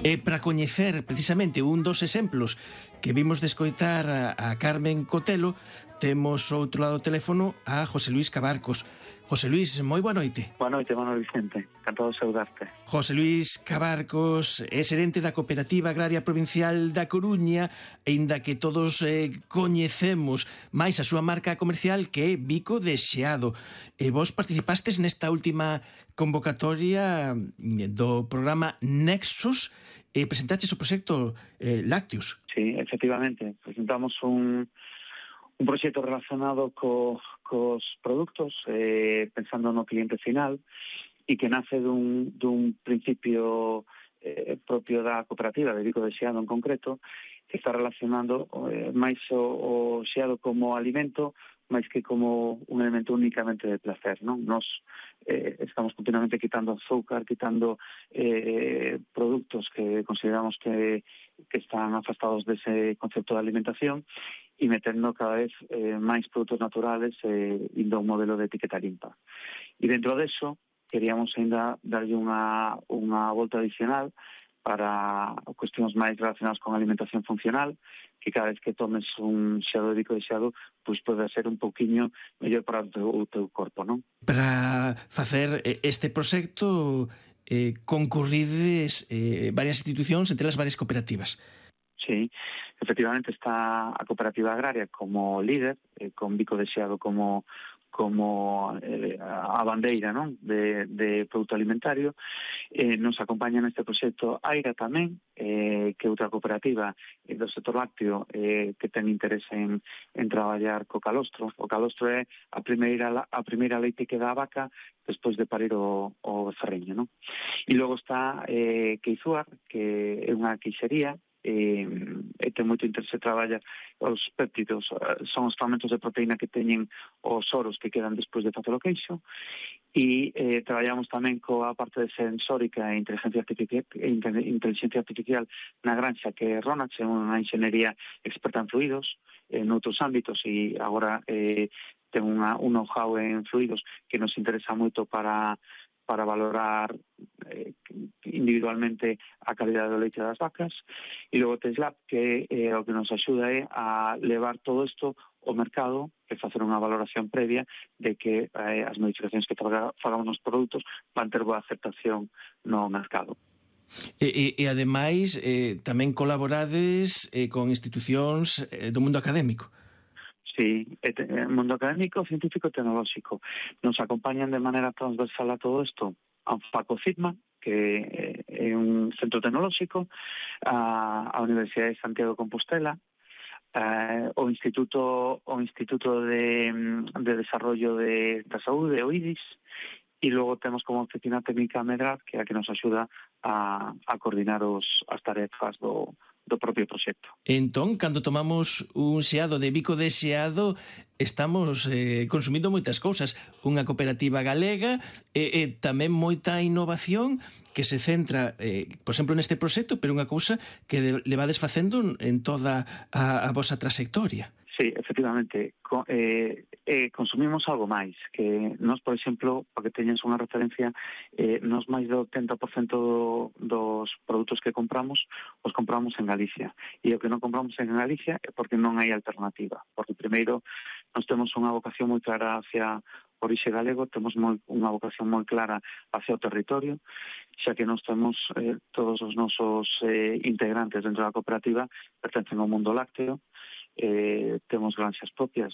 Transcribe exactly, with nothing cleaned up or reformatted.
E para coñecer precisamente un dos exemplos que vimos de escoitar a, a Carmen Cotelo, temos outro lado do teléfono a José Luís Cabarcos. José Luís, moi boa noite. Boa noite, Manuel Vicente. Encantado de saudarte. José Luís Cabarcos é xerente da Cooperativa Agraria Provincial da Coruña, aínda que todos eh, coñecemos máis a súa marca comercial, que é Bico de Xeado. E vos participastes nesta última convocatoria do programa Nexus e presentaches o proxecto eh, Lácteos. Sí, efectivamente. Presentamos un, un proxecto relacionado co, cos produtos, eh, pensando no cliente final, e que nace dun, dun principio eh, propio da cooperativa de Bico de Xeado en concreto, que está relacionando eh, máis o, o xeado como alimento, máis que como un elemento únicamente de placer, non? Nos eh, estamos continuamente quitando azúcar, quitando eh, produtos que consideramos que, que están afastados dese concepto de alimentación e metendo cada vez eh, máis produtos naturales eh, indo a un modelo de etiqueta limpa. E dentro deso, queríamos ainda darlle unha, unha volta adicional para cuestións máis relacionadas con alimentación funcional, que cada vez que tomes un xeado de Bico de Xeado, pois pode ser un pouquiño mellor para o teu, o teu corpo, non? Para facer este proxecto eh, concurrides eh, varias institucións, entre as varias cooperativas. Sí, efectivamente está a Cooperativa Agraria como líder, eh, con Bico de Xeado como como eh, a bandeira, non? De, de produto alimentario. Eh, nos acompaña neste proxecto Aira tamén, eh, que é outra cooperativa eh, do sector lácteo eh, que ten interés en, en traballar co calostro. O calostro é a primeira, a primeira leite que dá a vaca despois de parir o, o becerriño, non? E logo está eh, Queizuar, que é unha queixería, e, e ten moito interese traballa os péptidos, son os fragmentos de proteína que teñen os oros que quedan despois de facer o queixo, e eh, traballamos tamén coa parte de sensórica e inteligencia artificial, inteligencia artificial na granxa, que é Ronax, é unha enxenería experta en fluidos en outros ámbitos, e agora eh, ten unha, un know-how en fluidos que nos interesa moito para para valorar eh, individualmente a calidade do leite das vacas, e logo Teslab, que eh, o que nos axuda é a levar todo isto ao mercado e facer unha valoración previa de que eh, as modificacións que fagamos nos produtos van ter boa aceptación no mercado. E, e, e ademais, eh, tamén colaborades eh, con institucións eh, do mundo académico. Sí, el mundo académico, científico e tecnolóxico. Nos acompañan de maneira transversal a todo isto a Facocitma, que é un centro tecnolóxico, a, a Universidade de Santiago de Compostela, a, o Instituto o Instituto de, de Desarrollo de, da Saúde, o I D I S, e logo temos como oficina técnica Medrar, que é a que nos axuda a, a coordinar os, as tarefas do do propio proxecto. Entón, cando tomamos un xeado de Bico de Xeado, estamos eh, consumindo moitas cousas. Unha cooperativa galega e, e tamén moita innovación que se centra, eh, por exemplo, neste proxecto, pero unha cousa que levades facendo en toda a, a vosa trayectoria. Sí, efectivamente. Co, eh, eh, consumimos algo máis, que nós, por exemplo, para que teñas unha referencia, eh, nós máis do oitenta por cento do, dos produtos que compramos os compramos en Galicia. E o que non compramos en Galicia é porque non hai alternativa. Porque, primeiro, nós temos unha vocación moi clara hacia orixe galego, temos moi, unha vocación moi clara hacia o territorio, xa que nós temos eh, todos os nosos eh, integrantes dentro da cooperativa pertencen ao mundo lácteo. Eh, temos granxas propias,